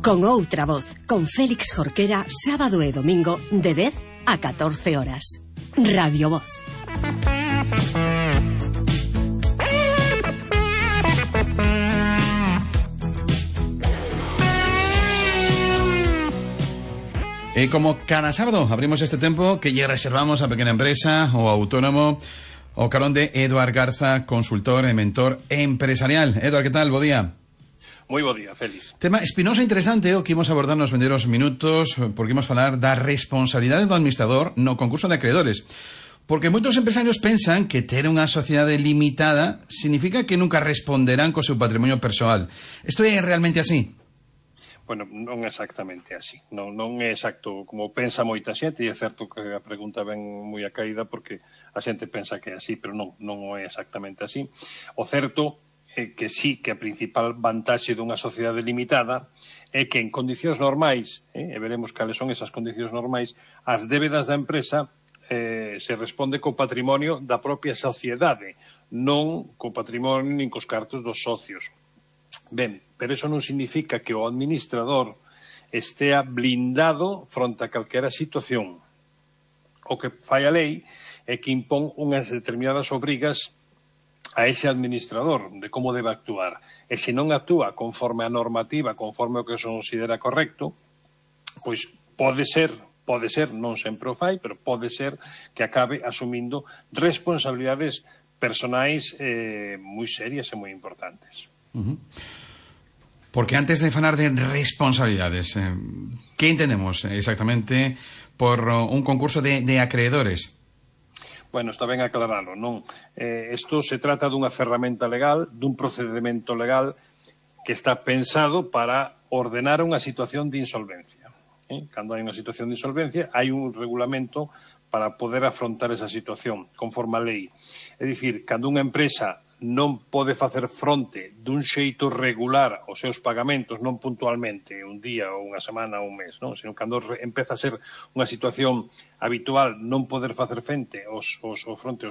Con outra voz, con Félix Jorquera, sábado e domingo de 10 a 14 horas. Radio Voz. E como cada sábado abrimos este tempo que lle reservamos a pequena empresa ou autónomo o carón de Eduard Garza, consultor e mentor empresarial. Eduard, que tal? Bo día. Moi bo día, Félix. Tema espinoso e interesante o que imos abordar nos vendeiros minutos, porque imos falar da responsabilidade do administrador no concurso de acreedores. Porque moitos empresarios pensan que ter unha sociedade limitada significa que nunca responderán co seu patrimonio persoal. Isto é realmente así? Bueno, non é exactamente así. Non é exacto como pensa moita xente, e é certo que a pregunta ven moi a caída porque a xente pensa que é así, pero non é exactamente así. O certo é que sí que a principal vantaxe dunha sociedade limitada é que en condicións normais, e veremos cales son esas condicións normais, as débedas da empresa se responde co patrimonio da propia sociedade, non co patrimonio nin cos cartos dos socios. Ben, pero eso non significa que o administrador estea blindado fronte a calquera situación. O que fai a lei é que impón unhas determinadas obrigas a ese administrador de como debe actuar. E se non actúa conforme a normativa, conforme o que se considera correcto, pois pode ser, non sempre o fai, pero pode ser que acabe asumindo responsabilidades personais moi serias e moi importantes. Porque antes de falar de responsabilidades, ¿qué entendemos exactamente por un concurso de acreedores? Bueno, está ben aclarado, non? Isto se trata dunha ferramenta legal, dun procedimento legal que está pensado para ordenar unha situación de insolvencia. Cando hai unha situación de insolvencia, hai un regulamento para poder afrontar esa situación, conforme a lei. É dicir, cando unha empresa non pode facer fronte dun xeito regular aos seus pagamentos, non puntualmente, un día ou unha semana ou un mes, non? Senón cando empeza a ser unha situación habitual non poder facer fronte aos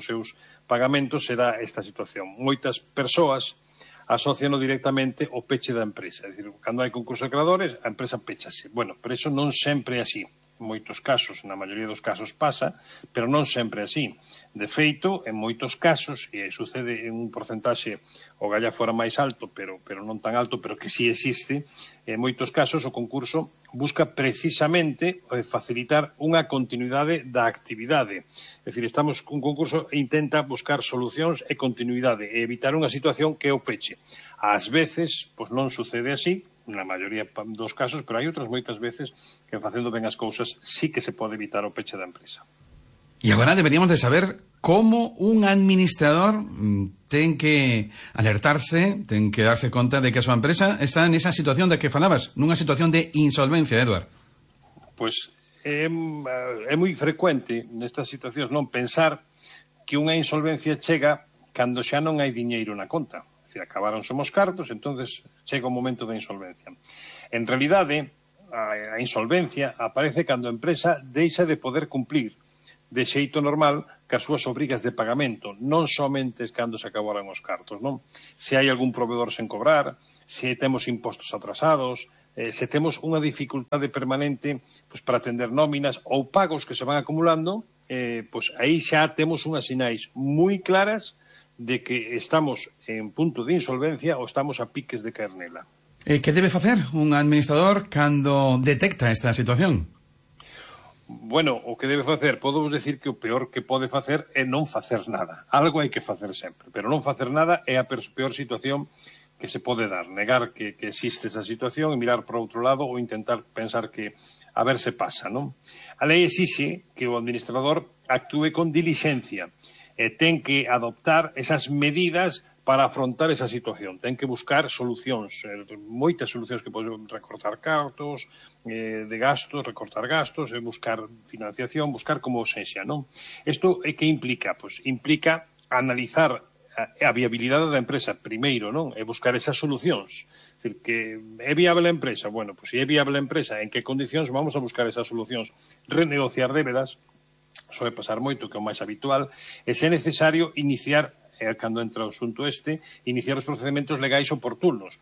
seus pagamentos, será esta situación. Moitas persoas asociano directamente ao peche da empresa. É dicir, cando hai concurso de acreedores, a empresa pechase. Bueno, pero iso non sempre é así. En moitos casos, na maioría dos casos pasa, pero non sempre é así. De feito, en moitos casos, e sucede en un porcentaxe o galla fora máis alto, pero non tan alto, pero que sí existe, en moitos casos o concurso busca precisamente facilitar unha continuidade da actividade. É dicir, un concurso intenta buscar solucións e continuidade e evitar unha situación que é o peche. Ás veces, pois non sucede así, na maioría dos casos, pero hai outras moitas veces que facendo ben as cousas sí que se pode evitar o peche da empresa. E agora deberíamos de saber como un administrador ten que alertarse, ten que darse conta de que a súa empresa está nesa situación de que falabas, nunha situación de insolvencia, Eduard. Pois é moi frecuente nestas situacións non pensar que unha insolvencia chega cando xa non hai diñeiro na conta. Se acabaron somos cartos, entonces chega o momento da insolvencia. En realidade, a insolvencia aparece cando a empresa deixa de poder cumplir de xeito normal cas súas obrigas de pagamento, non somente cando se acabaron os cartos, non? Se hai algún proveedor sen cobrar, se temos impostos atrasados, se temos unha dificultade permanente pois, para atender nóminas ou pagos que se van acumulando, pois aí xa temos unhas sinais moi claras de que estamos en punto de insolvencia ou estamos a piques de caer nela. Que debe facer un administrador cando detecta esta situación? Bueno, o que debe facer, podemos decir que o peor que pode facer é non facer nada. Algo hai que facer sempre, pero non facer nada é a peor situación que se pode dar. Negar que existe esa situación e mirar para outro lado ou intentar pensar que a ver se pasa, non? A lei exixe que o administrador actúe con dilixencia e ten que adoptar esas medidas para afrontar esa situación. Ten que buscar solucións, moitas solucións que poden recortar cartos de gastos, recortar gastos, buscar financiación, buscar como sexa, non? Isto é que implica? Pois implica analizar a viabilidade da empresa primeiro, non? E buscar esas solucións. É dicir, que é viable a empresa? Bueno, pois se é viable a empresa, en que condicións vamos a buscar esas solucións? Renegociar débedas, soe pasar moito, que é o máis habitual, e se é necesario iniciar, cando entra o asunto iniciar os procedementos legais oportunos.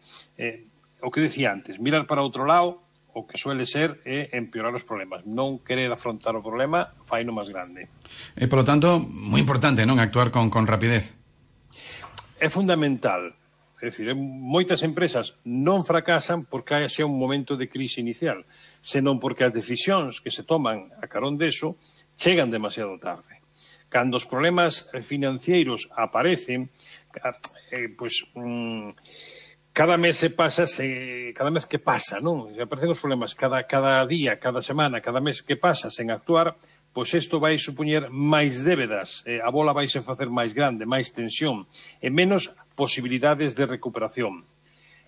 o que decía antes, mirar para outro lado, o que suele ser é empeorar os problemas. Non querer afrontar o problema faino máis grande. Por lo tanto, moi importante, non, actuar con rapidez. É fundamental. É dicir, moitas empresas non fracasan porque haxa un momento de crise inicial, senón porque as decisións que se toman a carón deso chegan demasiado tarde. Cando os problemas financeiros aparecen, cada mes que pasa, non? Se aparecen os problemas cada día, cada semana, cada mes que pasa sen actuar, pois isto vai supoñer máis débedas, a bola vai se facer máis grande, máis tensión, e menos posibilidades de recuperación.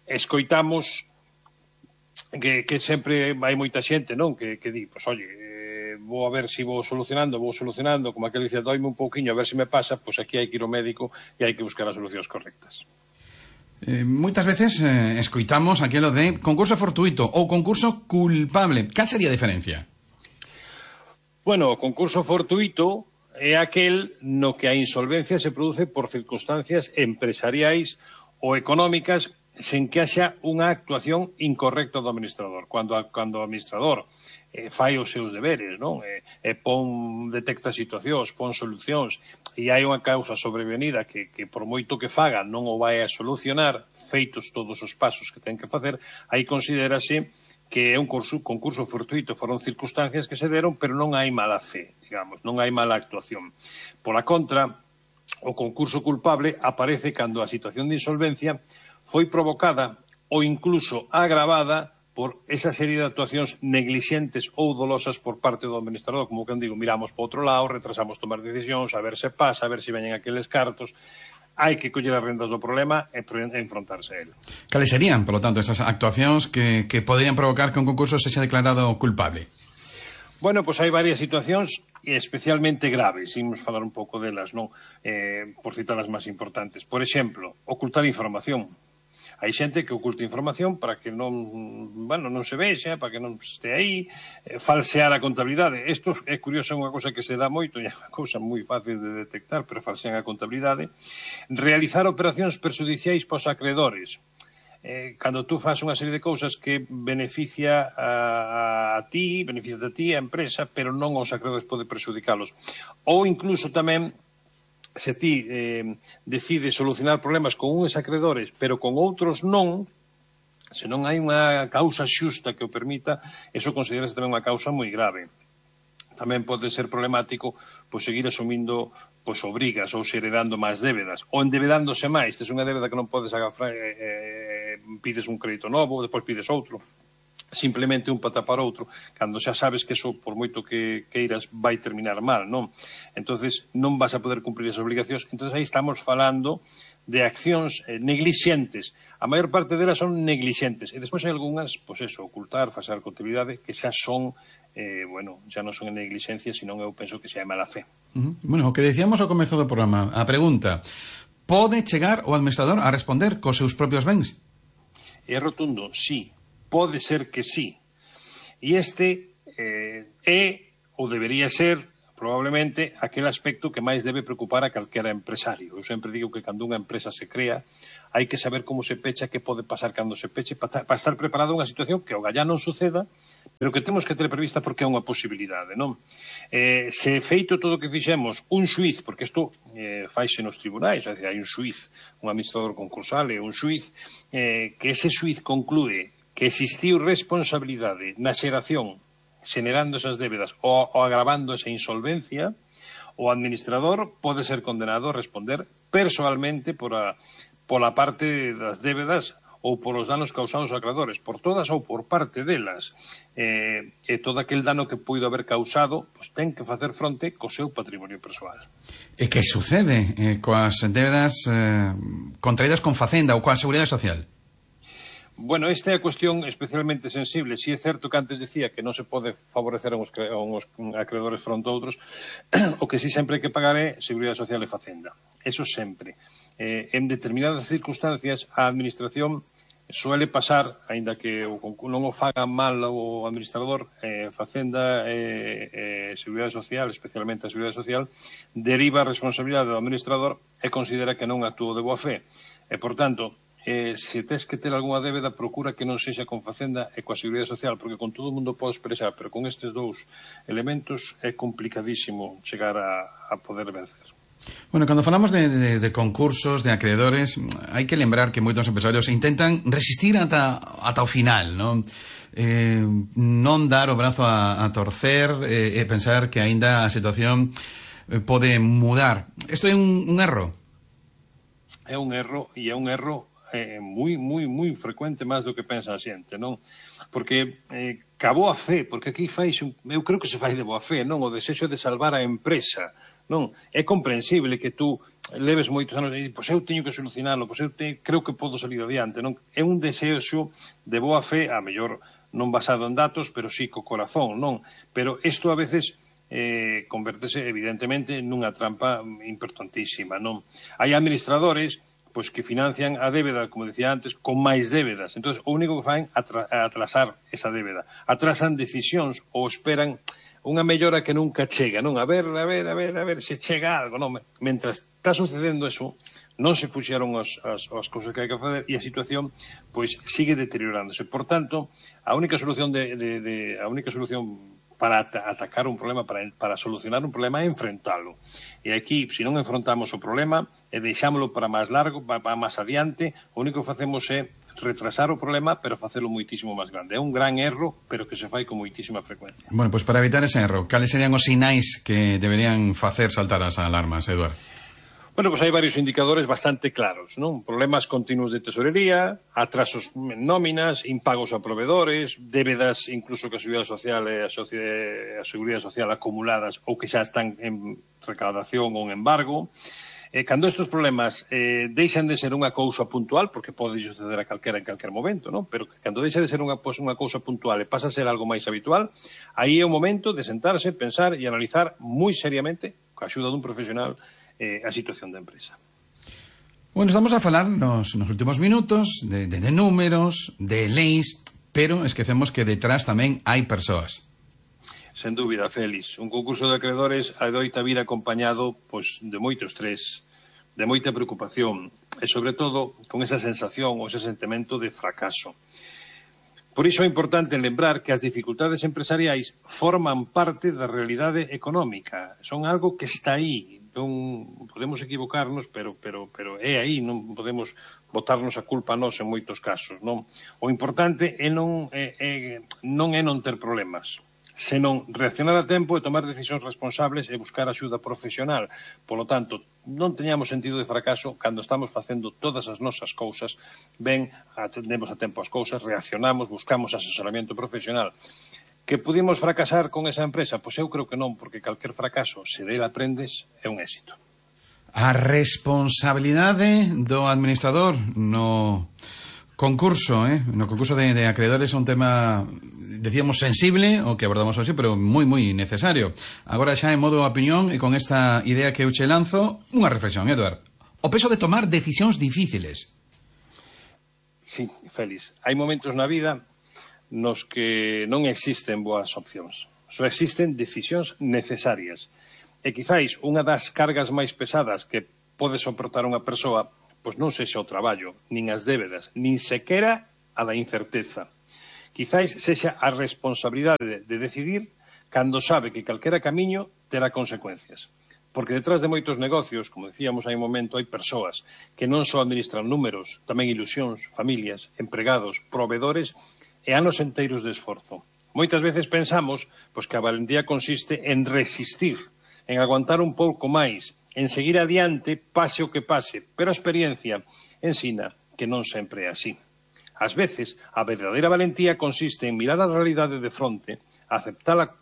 Escoitamos que sempre hai moita xente, non? Que di, pois, oye, vou a ver se vou solucionando, como aquel dice, doime un pouquiño a ver se me pasa, pois aquí hai que ir ao médico e hai que buscar as solucións correctas. Moitas veces escoitamos aquilo de concurso fortuito ou concurso culpable. Cal sería a diferencia? Bueno, o concurso fortuito é aquel no que a insolvencia se produce por circunstancias empresariais ou económicas sen que haxa unha actuación incorrecta do administrador. Cando o administrador fai os seus deberes, non? Detecta situacións, pon solucións, e hai unha causa sobrevenida que por moito que faga non o vai a solucionar, feitos todos os pasos que ten que facer, aí considérase que é un concurso fortuito, foron circunstancias que se deron, pero non hai mala fe, digamos, non hai mala actuación. Pola contra, o concurso culpable aparece cando a situación de insolvencia foi provocada ou incluso agravada por esa serie de actuacións neglixentes ou dolosas por parte do administrador, como que digo, miramos para outro lado, retrasamos tomar decisións, a ver se pasa, a ver se veñen aqueles cartos. Hai que coller as rendas do problema e enfrontarse a él. Cales serían, por lo tanto, esas actuacións que poderían provocar que un concurso sexa declarado culpable? Bueno, pois hai varias situacións especialmente graves, imos falar un pouco delas, non? Por citar as máis importantes. Por exemplo, ocultar información. Hai xente que oculta información para que non se vexa, para que non este aí, falsear a contabilidade. Isto é curioso, é unha cousa que se dá moito, e é unha cousa moi fácil de detectar, pero falsean a contabilidade. Realizar operacións perxudiciais pos acreedores. Cando tú fas unha serie de cousas que beneficia a ti, a empresa, pero non aos acreedores pode perxudicalos. Ou incluso tamén, se ti decides solucionar problemas con uns acreedores, pero con outros non, se non hai unha causa xusta que o permita, eso considerase tamén unha causa moi grave. Tamén pode ser problemático seguir asumindo obrigas ou heredando máis débedas, ou endebedándose máis. Tes unha débeda que non podes agafar, pides un crédito novo, depois pides outro. Simplemente un para tapar outro, cando xa sabes que eso, por moito que queiras, vai terminar mal, non? Entonces non vas a poder cumprir esas obligacións. Entonces aí estamos falando de accións neglixentes. A maior parte delas son neglixentes. E despois hai algunhas, ocultar, falsear contabilidade, que xa son, xa non son en neglixencia, senón eu penso que xa é mala fe. Bueno, o que decíamos ao comezo do programa, a pregunta, pode chegar o administrador a responder cos seus propios bens? É rotundo, sí. Pode ser que sí. E este é, ou debería ser, probablemente, aquel aspecto que máis debe preocupar a calquera empresario. Eu sempre digo que cando unha empresa se crea, hai que saber como se pecha, que pode pasar cando se peche, para estar preparado a unha situación que o gallá non suceda, pero que temos que ter prevista porque é unha posibilidade, non? Se feito todo o que fixemos, un xuiz, porque isto faise nos tribunais, é dicir, hai un xuiz, un administrador concursal e un xuiz, que ese xuiz conclúe que existiu responsabilidade na xeración xenerando esas débedas ou agravando esa insolvencia, o administrador pode ser condenado a responder persoalmente pola parte das débedas ou polos danos causados aos acreedores, por todas ou por parte delas. E todo aquel dano que puido haber causado, ten que facer fronte co seu patrimonio persoal. E que sucede coas débedas contraídas con Facenda ou coa Seguridade Social? Bueno, esta é a cuestión especialmente sensible. Si é certo que antes decía que non se pode favorecer a uns acreedores fronte a outros, o que si sempre hai que pagar é Seguridade Social e Facenda. Eso sempre. En determinadas circunstancias, a Administración suele pasar, aínda que non o faga mal o administrador, Facenda e Seguridade Social, especialmente a Seguridade Social, deriva a responsabilidade do administrador e considera que non actuou de boa fe. E, por tanto, se tes que ter algunha débeda, procura que non sexa con Facenda e coa Seguridade Social, porque con todo o mundo pode expresar, pero con estes dous elementos é complicadísimo chegar a poder vencer. Bueno, cando falamos de concursos, de acreedores, hai que lembrar que moitos empresarios intentan resistir ata o final, non? Non dar o brazo a torcer e pensar que aínda a situación pode mudar. Isto é un erro? É un erro, e é un erro moi frecuente, máis do que pensa a xente, non? Porque ca boa fe, porque aquí eu creo que se fai de boa fe, non? O desexo de salvar a empresa, non? É comprensible que tú leves moitos anos e pois eu teño que solucionarlo, pois eu creo que podo salir adiante, non? É un desexo de boa fe, a mellor non basado en datos, pero sí co corazón, non? Pero isto a veces convertese evidentemente nunha trampa importantísima, non? Hai administradores pois que financian a débeda, como decía antes, con máis débedas. Entón, o único que fan é atrasar esa débeda. Atrasan decisións ou esperan unha mellora que nunca chega, non? A ver se chega algo, non? Mentras está sucedendo eso, non se puxeron as cousas que hai que facer e a situación pois sigue deteriorándose. Por tanto, a única solución para atacar un problema, para solucionar un problema é enfrentalo. E aquí, se non enfrontamos o problema e deixámoslo para máis largo, para máis adiante, o único que facemos é retrasar o problema, pero facelo moitísimo máis grande. É un gran erro, pero que se fai con moitísima frecuencia. Bueno, pois para evitar ese erro, cales serían os sinais que deberían facer saltar as alarmas, Eduardo? Bueno, pues hai varios indicadores bastante claros, non? Problemas continuos de tesorería, atrasos en nóminas, impagos a proveedores, débedas incluso que a Seguridade Social e a Seguridade Social acumuladas ou que xa están en recaudación ou en embargo. Cando estes problemas deixan de ser unha cousa puntual, porque pode suceder a calquera en calquer momento, non? Pero cando deixa de ser unha cousa puntual e pasa a ser algo máis habitual, aí é o momento de sentarse, pensar e analizar moi seriamente, coa axuda dun profesional, a situación da empresa. Bueno, estamos a falar nos últimos minutos de números, de leis, pero esquecemos que detrás tamén hai persoas. Sen dúbida, Félix. Un concurso de acreedores adoita vir acompañado pois, de moito estrés, de moita preocupación e, sobre todo, con esa sensación ou ese sentimento de fracaso. Por iso é importante lembrar que as dificultades empresariais forman parte da realidade económica. Son algo que está aí. Non podemos equivocarnos, pero é aí, non podemos botarnos a culpa a nós en moitos casos, non? O importante non é non ter problemas, senón reaccionar a tempo e tomar decisións responsables e buscar axuda profesional. Polo tanto, non teñamos sentido de fracaso cando estamos facendo todas as nosas cousas, ben, atendemos a tempo as cousas, reaccionamos, buscamos asesoramento profesional. Que pudimos fracasar con esa empresa? Pois eu creo que non, porque calquer fracaso, se dele aprendes, é un éxito. A responsabilidade do administrador no concurso, no concurso de acreedores é un tema, decíamos, sensible, o que abordamos hoxe, pero moi necesario. Agora xa en modo opinión e con esta idea que eu che lanzo, unha reflexión, Eduard. O peso de tomar decisións difíciles. Sí, Félix. Hai momentos na vida nos que non existen boas opcións. Só existen decisións necesarias. E quizáis unha das cargas máis pesadas que pode soportar unha persoa, pois non sexa o traballo, nin as débedas, nin sequera a da incerteza. Quizáis sexa a responsabilidade de decidir cando sabe que calquera camiño terá consecuencias. Porque detrás de moitos negocios, como decíamos hai un momento, hai persoas que non só administran números, tamén ilusións, familias, empregados, proveedores e anos enteiros de esforzo. Moitas veces pensamos pois, que a valentía consiste en resistir, en aguantar un pouco máis, en seguir adiante, pase o que pase, pero a experiencia ensina que non sempre é así. Ás veces, a verdadeira valentía consiste en mirar a realidade de fronte, aceptala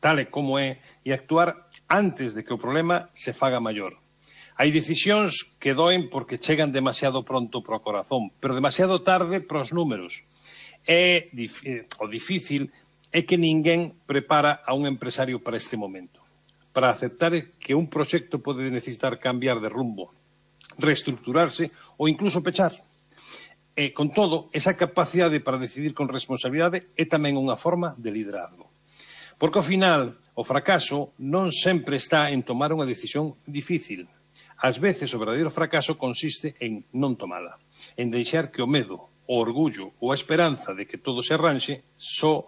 tal e como é e actuar antes de que o problema se faga maior. Hai decisións que doen porque chegan demasiado pronto para o corazón, pero demasiado tarde para os números. O difícil é que ninguén prepara a un empresario para este momento, para aceptar que un proxecto pode necesitar cambiar de rumbo, reestructurarse ou incluso pechar. E, con todo, esa capacidade para decidir con responsabilidade é tamén unha forma de liderazgo. Porque, ao final, o fracaso non sempre está en tomar unha decisión difícil. Ás veces, o verdadeiro fracaso consiste en non tomala. en deixar que o medo, o orgullo ou a esperanza de que todo se arranxe só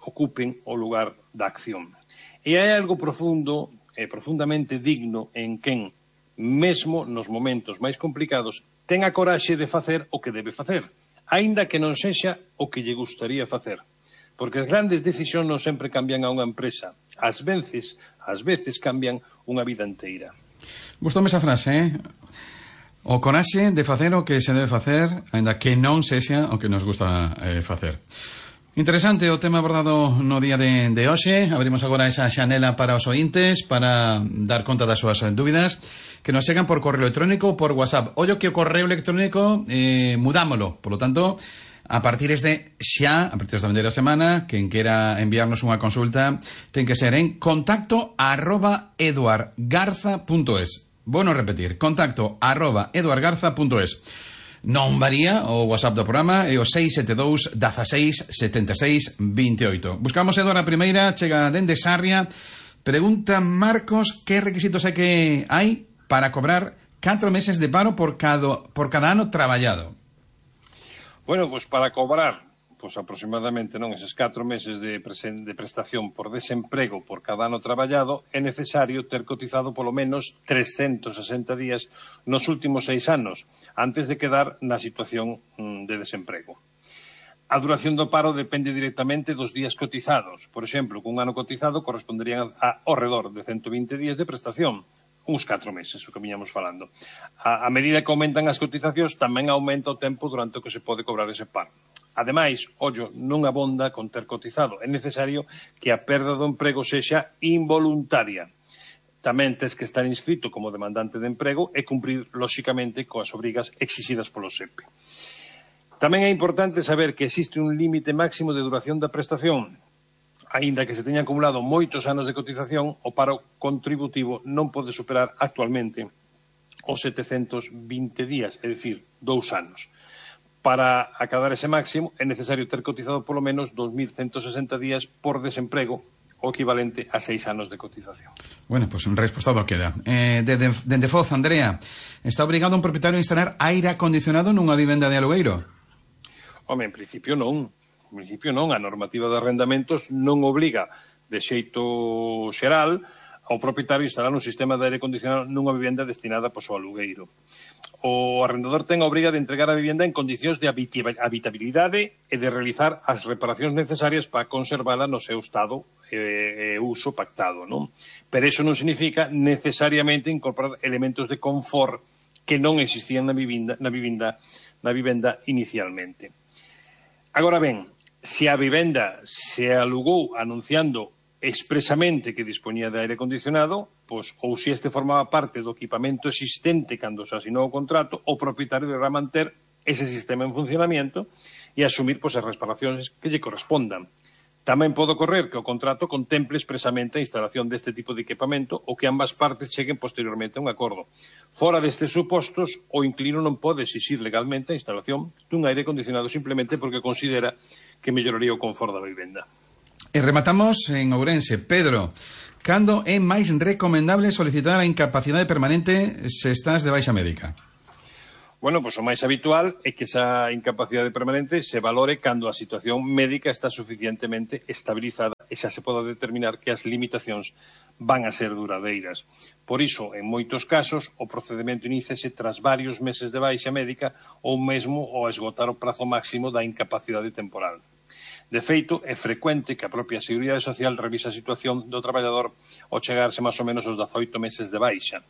ocupen o lugar da acción. E hai algo profundo e profundamente digno en quen, mesmo nos momentos máis complicados, ten a coraxe de facer o que debe facer, aínda que non sexa o que lle gustaría facer. Porque as grandes decisións non sempre cambian a unha empresa. Ás veces cambian unha vida inteira. Gustoume esa frase, O coraxe de facer o que se debe facer, aínda que non sexa o que nos gusta facer. Interesante o tema abordado no día de hoxe. Abrimos agora esa xanela para os ointes para dar conta das súas dúbidas que nos chegan por correo electrónico ou por WhatsApp. Ollo que o correo electrónico mudámolo, por lo tanto, a partir desta vindeira semana, quen quera enviarnos unha consulta ten que ser en contacto@eduardgarza.es. Bueno, repetir, contacto@eduardgarza.es. Non varía o WhatsApp do programa e o 672 16 76 28. Buscamos Eduardo a primeira, chega dende Sarria. Pregunta Marcos que requisitos hai para cobrar 4 meses de paro por cada ano traballado. Bueno, pues para cobrar aproximadamente eses 4 meses de prestación por desemprego por cada ano traballado é necesario ter cotizado polo menos 360 días nos últimos 6 anos antes de quedar na situación de desemprego. A duración do paro depende directamente dos días cotizados. Por exemplo, cun ano cotizado corresponderían ao redor de 120 días de prestación, uns 4 meses, o que viñamos falando. A medida que aumentan as cotizacións, tamén aumenta o tempo durante o que se pode cobrar ese paro. Ademais, non abonda con ter cotizado. É necesario que a perda do emprego sexa involuntaria. Tamén tes que estar inscrito como demandante de emprego e cumprir, lóxicamente, coas obrigas exixidas polo SEPE. Tamén é importante saber que existe un límite máximo de duración da prestación. Aínda que se teñan acumulado moitos anos de cotización, o paro contributivo non pode superar actualmente os 720 días, é dicir, 2 anos. Para acadar ese máximo é necesario ter cotizado polo menos 2.160 días por desemprego, o equivalente a 6 anos de cotización. Bueno, pues un respostado queda. Dende Foz, Andrea, está obrigado un propietario a instalar aire acondicionado nunha vivenda de alugueiro? Home, en principio non. A normativa de arrendamentos non obriga de xeito xeral ao propietario a instalar un sistema de aire acondicionado nunha vivenda destinada ao alugueiro. O arrendador ten a obriga de entregar a vivenda en condicións de habitabilidade e de realizar as reparacións necesarias para conservala no seu estado e uso pactado, non? Pero iso non significa necesariamente incorporar elementos de confort que non existían na vivenda inicialmente. Agora ben, se a vivenda se alugou anunciando expresamente que dispoñía de aire acondicionado, ou se este formaba parte do equipamento existente cando se asinou o contrato, o propietario deberá manter ese sistema en funcionamiento e asumir as reparacións que lle correspondan. Tamén pode ocorrer que o contrato contemple expresamente a instalación deste tipo de equipamento ou que ambas partes cheguen posteriormente a un acordo. Fora destes supostos, o inquilino non pode exixir legalmente a instalación dun aire acondicionado simplemente porque considera que melloraría o confort da vivenda. E rematamos en Ourense. Pedro, cando é máis recomendable solicitar a incapacidade permanente se estás de baixa médica? Bueno, o máis habitual é que esa incapacidade permanente se valore cando a situación médica está suficientemente estabilizada e xa se poda determinar que as limitacións van a ser duradeiras. Por iso, en moitos casos, o procedimento iníciase tras varios meses de baixa médica ou mesmo ao esgotar o prazo máximo da incapacidade temporal. De feito, é frecuente que a propia Seguridade Social revise a situación do traballador ao chegarse máis ou menos aos 18 meses de baixa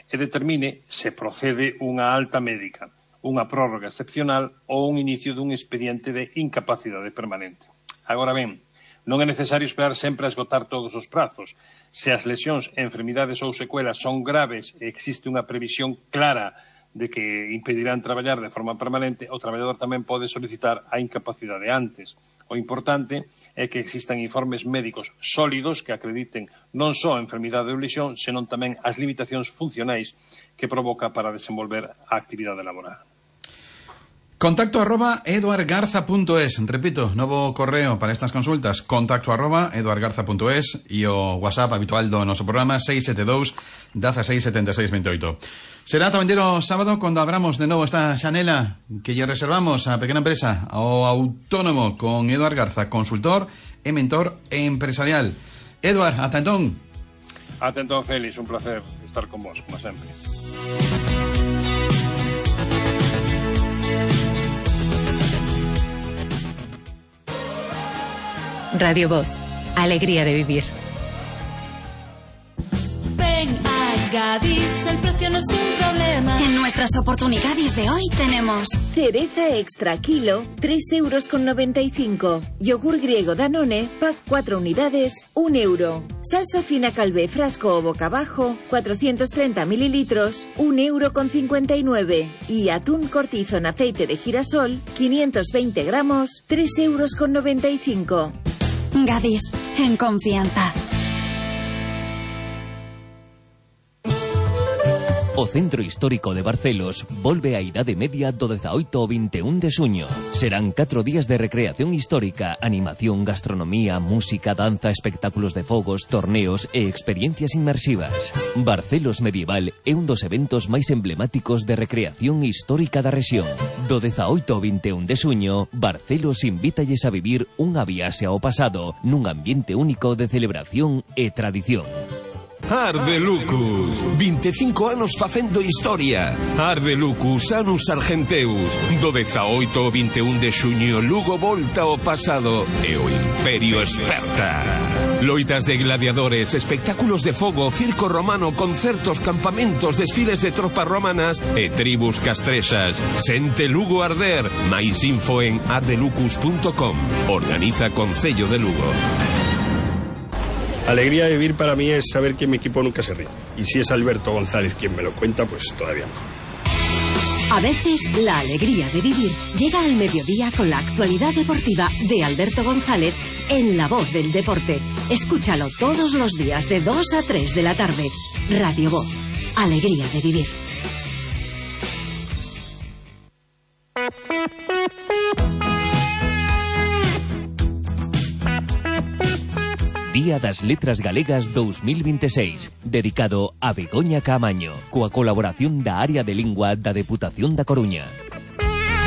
e determine se procede unha alta médica, unha prórroga excepcional ou un inicio dun expediente de incapacidade permanente. Agora ben, non é necesario esperar sempre a esgotar todos os prazos. Se as lesións, enfermidades ou secuelas son graves e existe unha previsión clara de que impedirán traballar de forma permanente, o traballador tamén pode solicitar a incapacidade antes. O importante é que existan informes médicos sólidos que acrediten non só a enfermidade ou lesión, senón tamén as limitacións funcionais que provoca para desenvolver a actividade laboral. contacto@eduardgarza.es. Repito, novo correo para estas consultas, contacto@eduardgarza.es e o WhatsApp habitual do noso programa 672 16 76 28. Será tamén o sábado cando abramos de novo esta xanela que lle reservamos á pequena empresa, ao autónomo, con Eduard Garza, consultor e mentor empresarial. Eduard, ata entón. Ata entón, Félix, un placer estar con vos, como sempre. Radio Voz, alegría de vivir. Ven a Gadis, el precio no es un problema. En nuestras oportunidades de hoy tenemos cereza extra kilo, 3,95 €. Yogur griego Danone, pack 4 unidades, 1 €. Salsa fina Calvé frasco o boca abajo, 430 mililitros, 1,59 €. Y atún cortizo en aceite de girasol, 520 gramos, 3,95 €. Gadis, en confianza. O Centro Histórico de Barcelos volve á Idade Media do 18 ao 21 de xuño. Serán 4 días de recreación histórica, animación, gastronomía, música, danza, espectáculos de fogos, torneos e experiencias inmersivas. Barcelos Medieval é un dos eventos máis emblemáticos de recreación histórica da rexión. Do 18 ao 21 de xuño, Barcelos invítalles a vivir unha viaxe ao pasado nun ambiente único de celebración e tradición. Ardelucus, 25 anos facendo historia. Ardelucus, Anus Argenteus. Do 18 ao 21 de xuño, Lugo volta ao pasado e o Imperio esperta. Loitas de gladiadores, espectáculos de fogo, circo romano, concertos, campamentos, desfiles de tropas romanas e tribus castrexas. Sente Lugo arder. Mais info en ardelucus.com. Organiza Concello de Lugo. Alegría de vivir para mí es saber que mi equipo nunca se rinde. Y si es Alberto González quien me lo cuenta, pues todavía mejor. A veces, la alegría de vivir llega al mediodía con la actualidad deportiva de Alberto González en La Voz del Deporte. Escúchalo todos los días de 2 a 3 de la tarde. Radio Voz. Alegría de vivir. Día das Letras Galegas 2026, dedicado a Begoña Caamaño, coa colaboración da Área de Lingua da Deputación da Coruña.